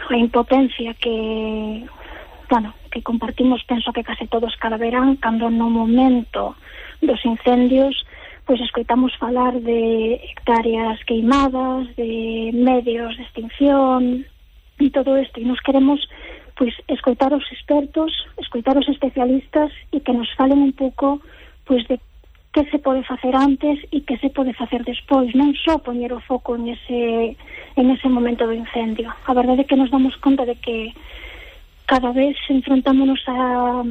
a impotencia que compartimos, penso que case todos cada verán, cando no momento dos incendios pois escoitamos falar de hectáreas queimadas, de medios de extinción e todo isto, e nos queremos pois escoitar os expertos, escoitar os especialistas e que nos falen un pouco pois de que se pode facer antes e que se pode facer despois, non só poñer o foco en ese momento do incendio. A verdade é que nos damos conta de que cada vez enfrontámonos a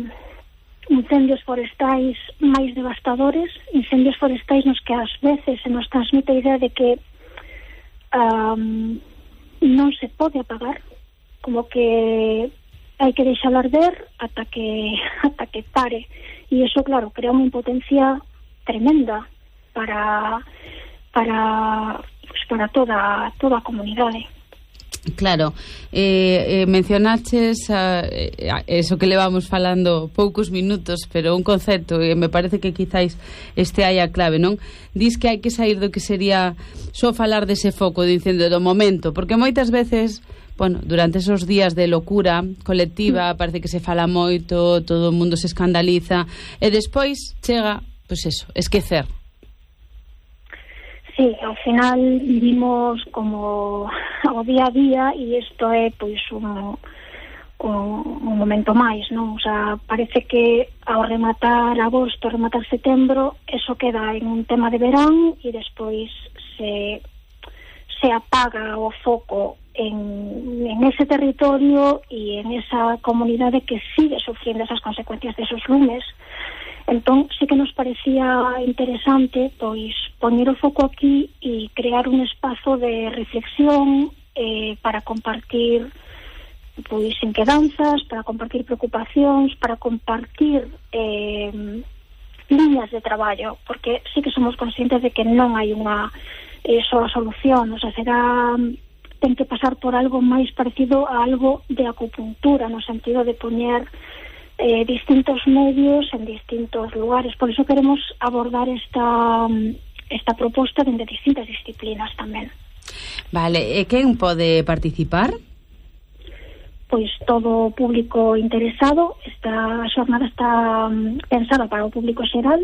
incendios forestais máis devastadores, incendios forestais nos que ás veces se nos transmite a idea de que non se pode apagar, como que hai que deixalo arder ata que pare, e iso, claro, crea unha impotencia tremenda para toda a comunidade. Claro, mencionaches eso que levamos falando poucos minutos, pero un concepto, e me parece que quizáis este hai a clave, non? Dis que hai que sair do que sería só falar dese foco de incendio do momento, porque moitas veces, bueno, durante esos días de locura colectiva parece que se fala moito, todo o mundo se escandaliza, e despois chega, pois eso, esquecer. Sí, ao final vivimos como o día a día e isto é pois un momento máis, non? O sea, parece que ao rematar agosto, rematar setembro, eso queda en un tema de verán e despois se apaga o foco en ese territorio e en esa comunidade que sigue sufriendo esas consecuencias desos lumes. Entón, sí que nos parecía interesante pois poñer o foco aquí e crear un espazo de reflexión para compartir pois inquedanzas, para compartir preocupacións, para compartir líneas de traballo, porque sí que somos conscientes de que non hai unha soa solución, o sea, ten que pasar por algo máis parecido a algo de acupuntura, no sentido de poñer distintos medios en distintos lugares. Por iso queremos abordar esta proposta dende distintas disciplinas tamén. Vale, e quen pode participar? Pois todo o público interesado. Esta xornada está pensada para o público xeral.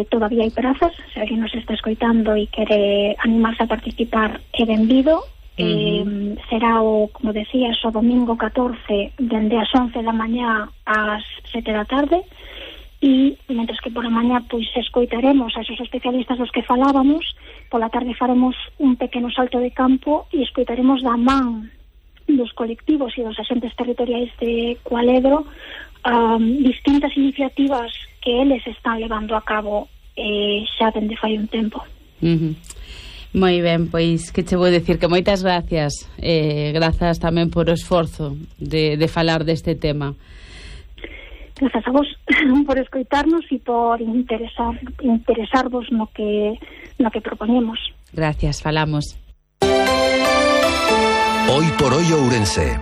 Todavía hai prazas, se alguén nos está escoitando e quere animarse a participar, é benvido. Será como decía, o domingo 14 dende as 11 da mañá ás 7 da tarde, e mentres que por a mañá pois escoitaremos a esos especialistas dos que falábamos, pola tarde faremos un pequeno salto de campo e escoitaremos da man dos colectivos e dos axentes territoriais de Cualedro distintas iniciativas que eles están levando a cabo xa dende fai un tempo. Moi ben, pois que che vou decir que moitas gracias, grazas tamén por o esforzo de falar deste tema. Grazas a vos por escoitarnos e por interesarvos no que propoñemos. Gracias, falamos. Hoy por hoy Ourense.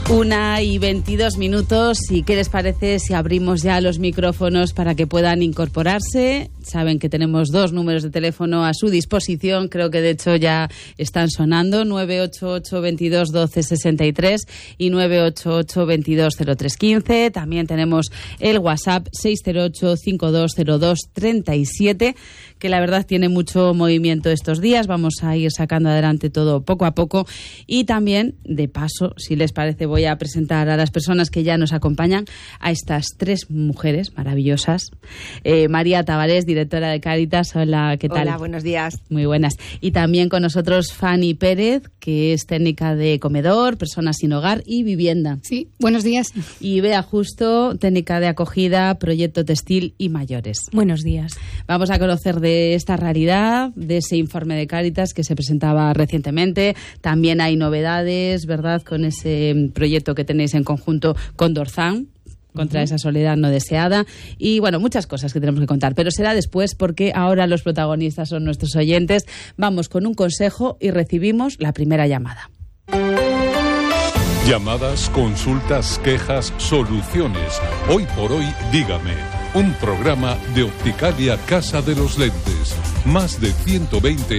Una y 22 minutos, y ¿qué les parece si abrimos ya los micrófonos para que puedan incorporarse? Saben que tenemos 2 números de teléfono a su disposición, creo que de hecho ya están sonando, 988 22 12 63 y 988 22 03 15. También tenemos el WhatsApp 608 5202 37, que la verdad tiene mucho movimiento estos días. Vamos a ir sacando adelante todo poco a poco, y también, de paso, si les parece, voy a presentar a las personas que ya nos acompañan, a estas 3 mujeres maravillosas. María Tavares, directora de Cáritas. Hola, ¿qué tal? Hola, buenos días. Muy buenas. Y también con nosotros Fanny Pérez, que es técnica de comedor, personas sin hogar y vivienda. Sí, buenos días. Y Bea Justo, técnica de acogida, proyecto textil y mayores. Buenos días. Vamos a conocer de esta realidad, de ese informe de Cáritas que se presentaba recientemente. También hay novedades, ¿verdad?, con ese proyecto que tenéis en conjunto con Dorzán, contra esa soledad no deseada, y bueno, muchas cosas que tenemos que contar, pero será después, porque ahora los protagonistas son nuestros oyentes. Vamos con un consejo y recibimos la primera llamada. Llamadas, consultas, quejas, soluciones. Hoy por hoy, dígame. Un programa de Opticalia Casa de los Lentes. Más de 120